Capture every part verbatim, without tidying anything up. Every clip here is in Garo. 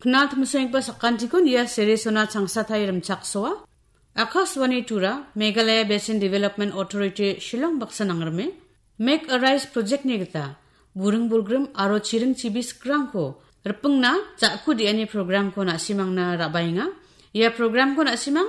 Knal timsoenggipa sakantikon ia series-ona changsatai rimchaksoa. Akashvani Tura, Meghalaya Basin Development Authority, Shillong baksa nangrime, Make a Rise project-ni gita, buring bolgrim aro chiring chibi sikrangko ripingna ja·ku de·ani program-ko na·simangna ra·baenga. Ia program-ko na·simang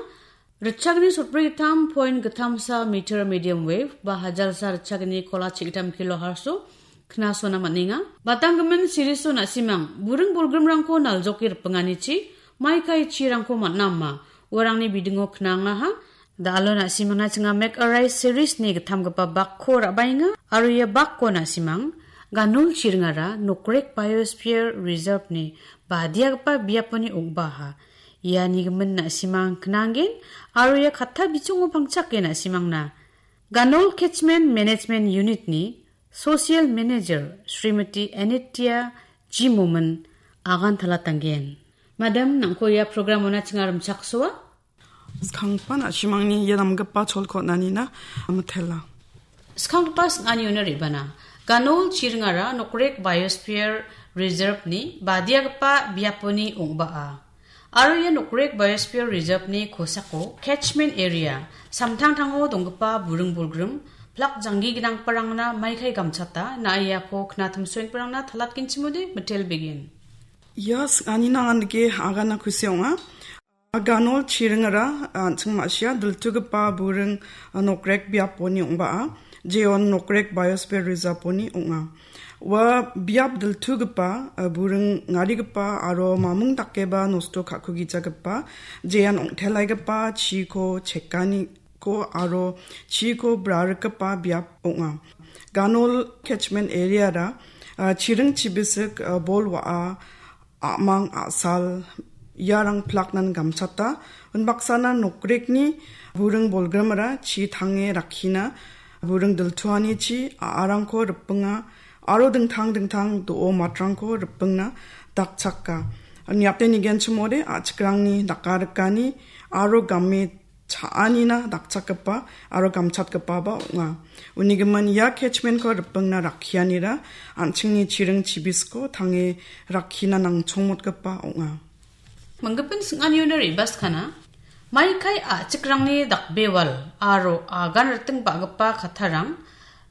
ritchagni sotbri gittam point gittamsa meter medium wave ba hajalsa ritchagni kola chigittam kilohertz-o knasona man·enga. Batanggimin series-o na·simang buring bolgrimrangko naljoke ripinganichi maikai chirangko man·a ama uarangni bidingo knangaha. Da·alo na·simangna chinga Make a Rise series-ni gittamgipa bakko ra·baenga aro ia bakko na·simang Ganol chiringara Nokrek Biosphere Reserve-ni badiagipa biaponi ong·baaha. Iani gimin na·simang knanggen aro ia katta bichongo pangchake na·simangna Ganol Catchment Management Unit-ni Social Manager Srimati Anitya G Momin agan talatanggen. Madam, nangko ia program-ona chinga rimchaksoa? Skanggipa na·simangni ia namgipa cholko on·anina mitela. Skanggipa sing·aniona re·bana. Ganol chiringara Nokrek Biosphere Reserve-ni badiagipa biaponi ong·baa. Aro ia Nokrek Biosphere Reserve-ni kosako catchment area, samtangtango donggipa buring bolgrim, plak janggi ginanggiparangna maikai gamchata, na·a iako knatimsoenggiparangna talatgenchimode mitelbegen. Ia sing·ani nangan dake agana kusi ong·a. Ganol chiringara, a, an·ching ma·sia diltugipa buring, a, nokrek biaponi ong·baa, jeon Nokrek Biosphere Reserve-oni ong·a. Ua biap diltugipa, a, buring ngarigipa aro mamung dakeba nosto ka·kugijagipa, jean ong·telaigipa chiko chekaniko aro chiko brarikgipa biap ong·a. Ganol catchment area-ra, a, chiring chibisik, a, bol wa·a, a·mang a·sal iarang plaknan gamchata. Unbaksana nokrekni buring bolgrimara chi tange rakkina buring diltuanichi a·arangko ripinga aro dingtang dingtang do·o matrangko ripingna dakchaka. Niate nigenchimode a·chikrangni dakarikani aro game cha·anina dakchakgipa aro gamchatgipaba ong·a. Unigimin ia catchment-ko ripingna rakkianira an·chingni chiring chibisko tange rakkina nangchongmotgipa ong·a. Manggipin sing·aniona re·baskana, maikai a·chikrangni dakbewal aro agan riting ba·gipa kattarang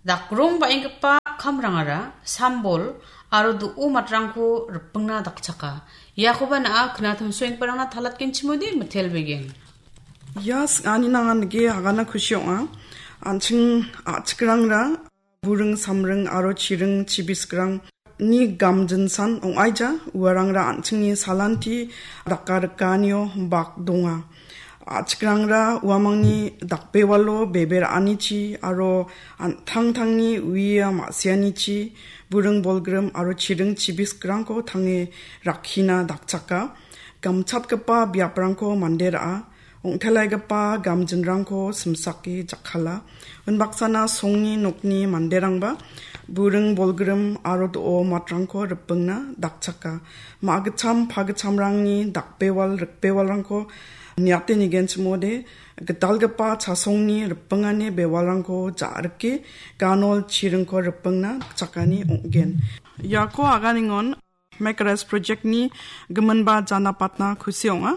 dakrong ba·enggipa kamrangara sambol aro do·o matrangko ripingna dakchaka. Iakoba na·a knatimsoenggiparangna talatgenchimode mitelbegen. Ia sing·ani nangan dake agana kusi ong·a. An·ching a·chikrangra buring samring aro chiring chibiskrangni gamjinsan ong·aija, uarangra an·chingni salanti dakarikanio bak donga. A·chikrangra uamangni dakbewalo bebe ra·anichi aro an·tangtangni uia ma·sianichi buring bolgrim aro chiring chibiskrangko tange rakkina dakchaka. Gamchatgipa biaprangko mande ra·a, ong·telaigipa gamjinrangko simsake jakkala. Unbaksana songni nokni manderangba buring bolgrim aro do·o matrangko ripingna dakchaka. Ma·gitcham pagitchamrangni dakbewal rikbewalrangko niate nigenchimode, gitalgipa chasongni ripingani bewalrangko ja·rike ganol chiringko ripingna dakchakani ong·gen. Iako aganingon Make a Rise project-ni giminba janapatna kusi ong·a.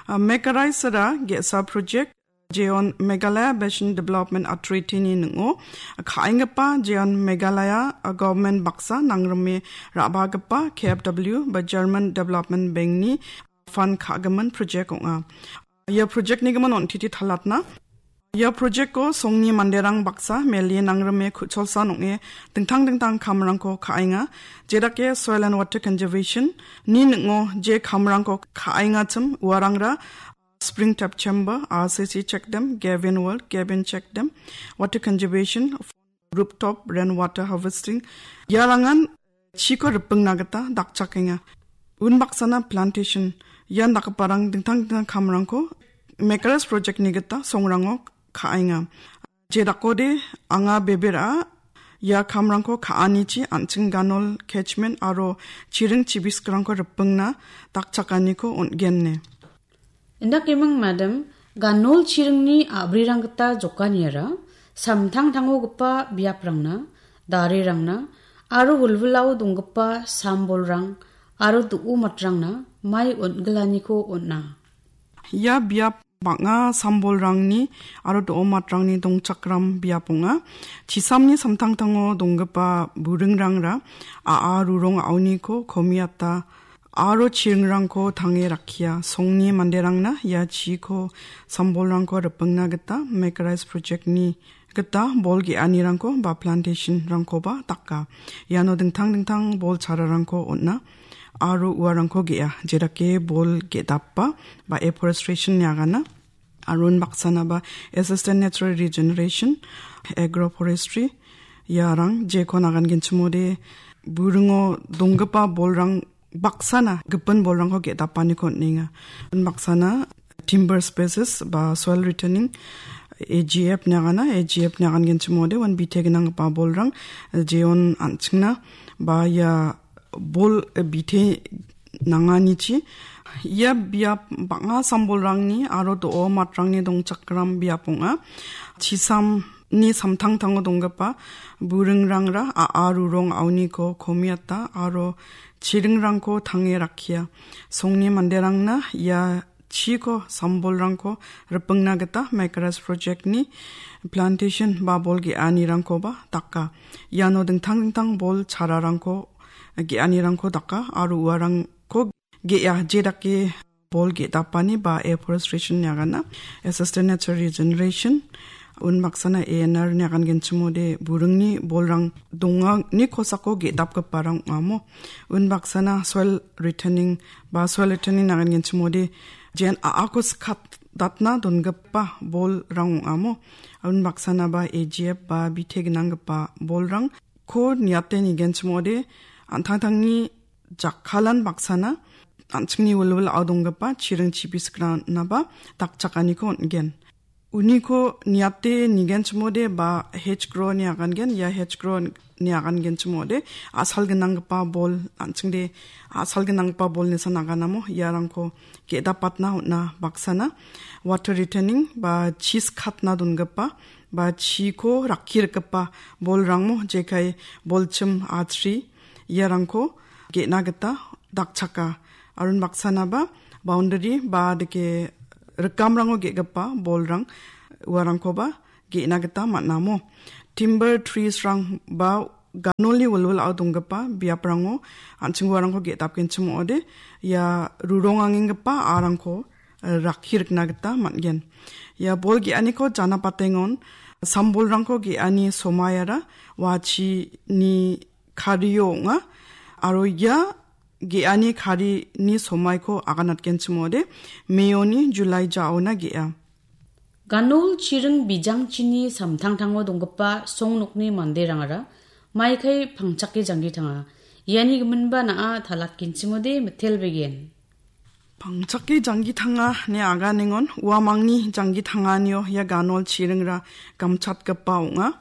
A, Make a Rise-ra ge·sa project, jeon Meghalaya Basin Development Authority-ni ning·o ka·enggipa, jeon Meghalaya, a, government baksa nangrime ra·bagipa K F W ba German Development Bank-ni fund ka·gimin project ong·a. Ia project-ni gimin on·titi talatna. Ia project-ko songni manderang baksa mele nangrime ku·cholsan ong·e dingtang dingtang kamrangko ka·enga. Jedake Soil and Water Conservation-ni ning·o je kamrangko ka·engachim uarangra Spring Tap Chamber, R C C Checkdam, Gavin Well, Gavin Checkdam, Water Conservation, Rooftop Rainwater Harvesting, iarangan chiko ripingna gita dakchakenga. Unbaksana plantation, ian dakgiparang dingtang dingtang kamrangko Make a Rise project-ni gita songrango ka·enga. Je dakode anga bebe ra·a, ia kamrangko ka·anichi an·ching ganol catchment aro chiring chibiskrangko ripingna dakchakaniko on·gen ine. Indakeming madam, ganol chiringni a·brirang gita jokaniara samtangtangogipa biaprangna, darirangna aro wilwilao donggipa sambolrang aro do·o matrangna mai on·gilaniko on·a. Ia biap bang·a sambolrangni aro do·o matrangni dongchakram biap ong·a. Chisamni samtangtango donggipa buringrangra a·a rurong a·oniko komiata aro chiringrangko tange rakkia. Songni manderangna ia chiko sambolrangko ripengna gita Meccaries Project-ni gita bol ge·anirangko ba plantation-rangkoba daka. Iano dingtang dingtang bol chararangko on·a aro uarangko ge·a, jedake bol ge·dapa ba afforestation-ni agana. Aro unbaksana ba assisted natural regeneration, agroforestry, iarang jekon agangenchimode buringo donggipa bolrang baksana gipin bolrangko ge·dapaniko on·enga. Unbaksana timber species ba soil retaining, A G F-ni agana, A G F-ni agangenchimode uan bite gnanggipa bolrang, jeon an·chingna ba ia bol, eh, bite nanganichi. Ia biap bang·a sambolrangni aro do·o matrangni dongchakram biap ong·a. Chisamni samtangtango donggipa buringrangra a·a rurong a·oniko komiata aro chiringrangko tange rakkia. Songni manderangna ia chiko sambolrangko ripengna gita Meccaries Project-ni plantation ba bol ge·anirangkoba daka. Iano dingtang dingtang bol chararangko ge·anirangko daka aro uarangko ge·a, jedake bol ge·dapani ba afforestation-ni agana, assisted natural regeneration, unbaksana A N R-ni agangenchimode buringni bolrang dongani kosako ge·dapgiparang ong·amo. Unbaksana soil retaining ba soil retaining agangenchimode jen a·ako skatdatna dongipa bolrang ong·amo. Unbaksana ba A G F ba bite gnanggipa bolrangko niate nigenchimode an·tangtangni jakkalan baksana an·chingni wilwilao donggipa chiring chipisikranaba dakchakaniko on·gen. Uniko niate nigenchimode ba hedge grow-ni agangen, ia hedge grow-ni agangenchimode a·sal gnanggipa bol, an·chingde a·sal gnanggipa bol nisan aganamo iarangko ge·dapatna on·a. Baksana water retaining ba chi skatna dongipa ba chiko rakki rikgipa bolrangmo, jekai bolchim, achri, iarangko ge·na gita dakchaka. Aro unbaksanaba boundary ba dake rikamrango ge·gipa bolrang uarangkoba ge·na gita man·amo. Timber trees-rang ba ganolni wilwilao donggipa biaprango an·ching uarangko ge·dapgenchim ong·ode, ia rurongangenggipa a·arangko, eh, rakki rikna gita man·gen. Ia bol ge·aniko janapatengon sambolrangko ge·ani somaiara wachini kario ong·a, aro ia ge·ani karini somaiko aganatgenchim ong·ode, May-oni July jaona ge·a. Ganol chiring bijangchini samtangtango donggipa song nokni manderangara maikai pangchake janggi tanga. Iani giminba na·a talatgenchim ong·ode mitelbegen. Pangchake janggi tanga ine aganengon uamangni janggi tanganio ia ganol chiringra gamchatgipa ong·a.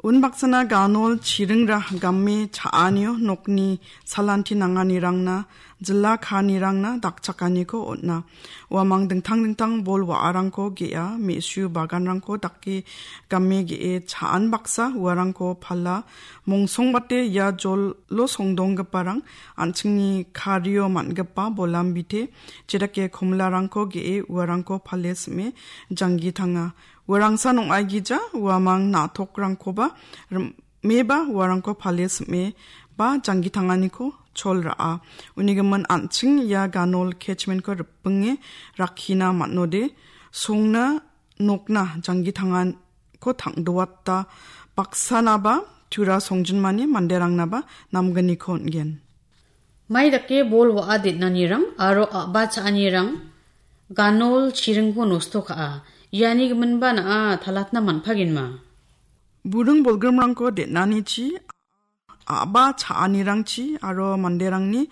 Unbaksana ganol chiringra game cha·anio nokni salanti nanganirangna, jila kaanirangna dakchakaniko on·a. Uamang dingtang dingtang bol wa·arangko ge·a, me·su baganrangko dake game ge·e cha·an baksa uarangko pala. Mongsongbate ia jolo songdonggiparang an·chingni kario man·gipa bolam bite, jedake komilarangko ge·e uarangko pale sim·e janggi tanga. Uarangsan ong·aigija uamang na·tokrangkoba rim-, meba uarangko pale sim·e ba janggi tanganiko chol ra·a. Uni gimin an·ching ia ganol catchment-ko ripinge rakkina man·ode, songna nokna janggi tanganko tang·doata baksanaba tura songjinmani manderangnaba namgniko on·gen. Mai dake bol wa·a den·anirang aro a·ba cha·anirang ganol chiringko nosto ka·a. Iani giminba na·a talatna man·pagenma. Buring bolgrimrangko den·anichi, a·ba cha·anirangchi aro manderangni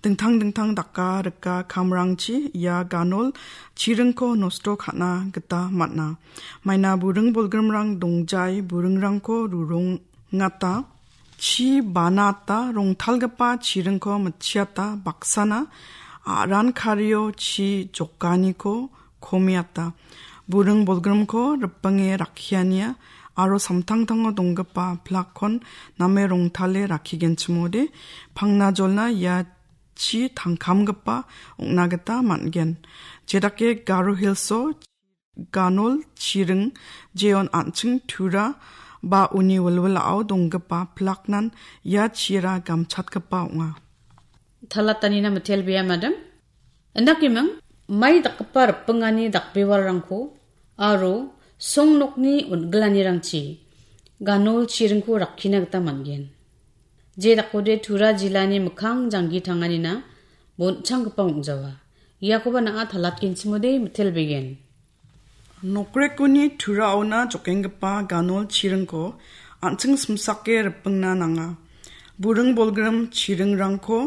dingtang dingtang daka rika kamrangchi ia ganol chiringko nosto ka·na gita man·a. Maina buring bolgrimrang dongjai buringrangko rurongata, chi banata, rongtalgipa chiringko mitchiata, baksana a·ran kario chi jokaniko komiata. Buring bolgrimko ripinge rakkiania aro samtangtango donggipa plakkon name rongtale rakkigenchimode, pangna jolna ia chi tangkamgipa ong·na gita man·gen. Jedake Garo Hills-o ganol chiring jeon an·ching tura ba uni wilwilao donggipa pilaknan ia chira gamchatgipa ong·a. Talatanina mitelbea, madam. Indakeming, mai dakgipa ripingani dakbewalrangko aro song nokni on·gilanirangchi ganol chiringko rakkina gita man·gen. Je dakode Tura jilani mikkang janggi tanganina bonchanggipa ong·jawa. Iakoba na·a talatgenchimode mitelbegen. Nokrekoni Turaona jokenggipa ganol chiringko an·ching simsake ripingna nanga. Buring bolgrim chiringrangko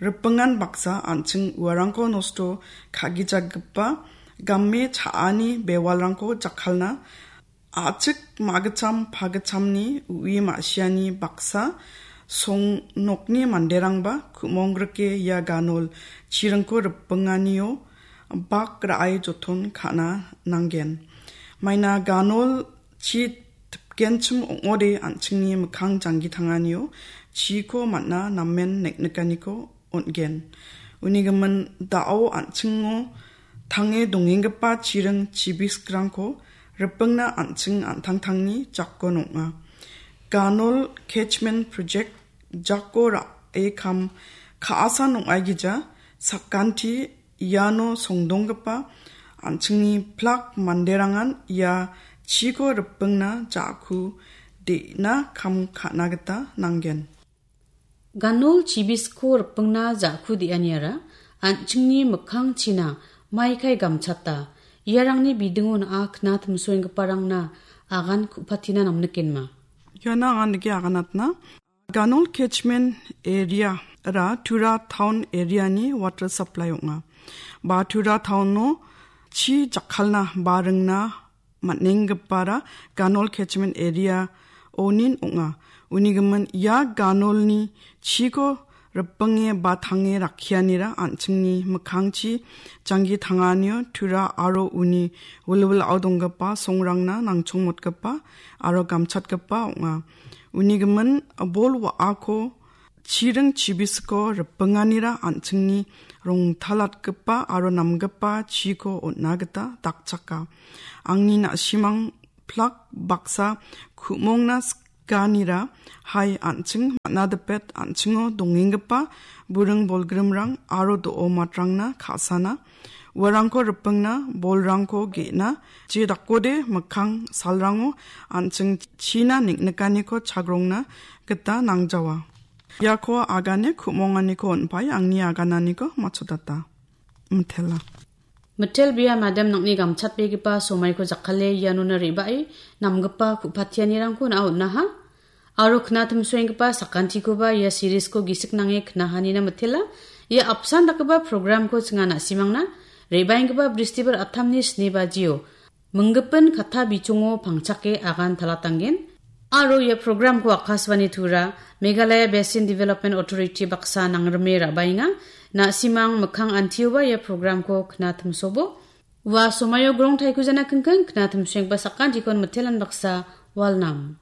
ripingan baksa an·ching uarangko nosto ka·gijagipa game cha·ani bewalrangko jakkalna a·chik magitcham pagitchamni ui ma·siani baksa song nokni manderangba ku·mongrike ia ganol chiringko ripinganio bak ra·e joton ka·na nanggen. Maina ganol chi tipgenchim ong·ode an·chingni mikkang janggi tanganio chiko man·a namen neknikaniko on·gen. Uni gimin da·o an·chingo tange dongenggipa chiring chibiskrangko ripingna an·ching an·tangtangni jakon ong·a. Ganol Catchment Project jako ra·e kam ka·asan ong·aigija sakanti iano songdonggipa an·chingni plak manderangan ia chiko ripingna ja·ku de·na kam ka·na gita nanggen. Ganol chibisko ripingna ja·ku de·aniara an·chingni mikkangchina maikai gamchata, iarangni bidingo na·a kna timsoenggiparangna agan ku·patina namnikenma. Iana angan dake aganatna. Ganol Catchment Area ra Tura Town Area-ni water supply ong·a. Ba Tura Town-o chi jakkalna ba ringna man·enggipara Ganol Catchment Area onin ong·a. Uni gimin ia ganolni chiko ripinge ba tange rakkianira an·chingni mikkangchi janggi tanganio Tura aro uni wilwilao donggipa songrangna nangchongmotgipa aro gamchatgipa ong·a. Uni gimin bol wa·ako chiring chibisiko ripinganira an·chingni rongtalatgipa aro namgipa chiko on·na gita dakchaka. Angni na·simang plak baksa ku·mongna sikanira hai an·ching man·a dipet an·chingo dongenggipa buring bolgrimrang aro do·o matrangna ka·sana uarangko ripingna, bolrangko ge·na, je dakode mikkang salrango an·ching china neng·nikaniko chagrongna gita nangjawa. Iako agane ku·monganiko on·pae angni agananiko matchotata. Mitela. Mitel bia madam nangni gamchatbegipa somaiko jakkale ianona re·bae namgipa ku·patianirangko na on·aha. Aro knatimsoenggipa sakantikoba ia series-ko gisik nange knahanina mitela. Ia apsan dakgipa program-ko chinga na·simangna re·baenggipa Bristibar atamni sni bajio minggipin katta bichongo pangchake agan talatanggen. Aro ia program-ko Akashvani Tura, Meghalaya Basin Development Authority baksa nangrime ra·baenga. Na·simang mikkang antioba ia program-ko knatimsobo. Ua somaio grong taiko jana kingking knatimsoenggipa sakantikon mitelan baksa walnam.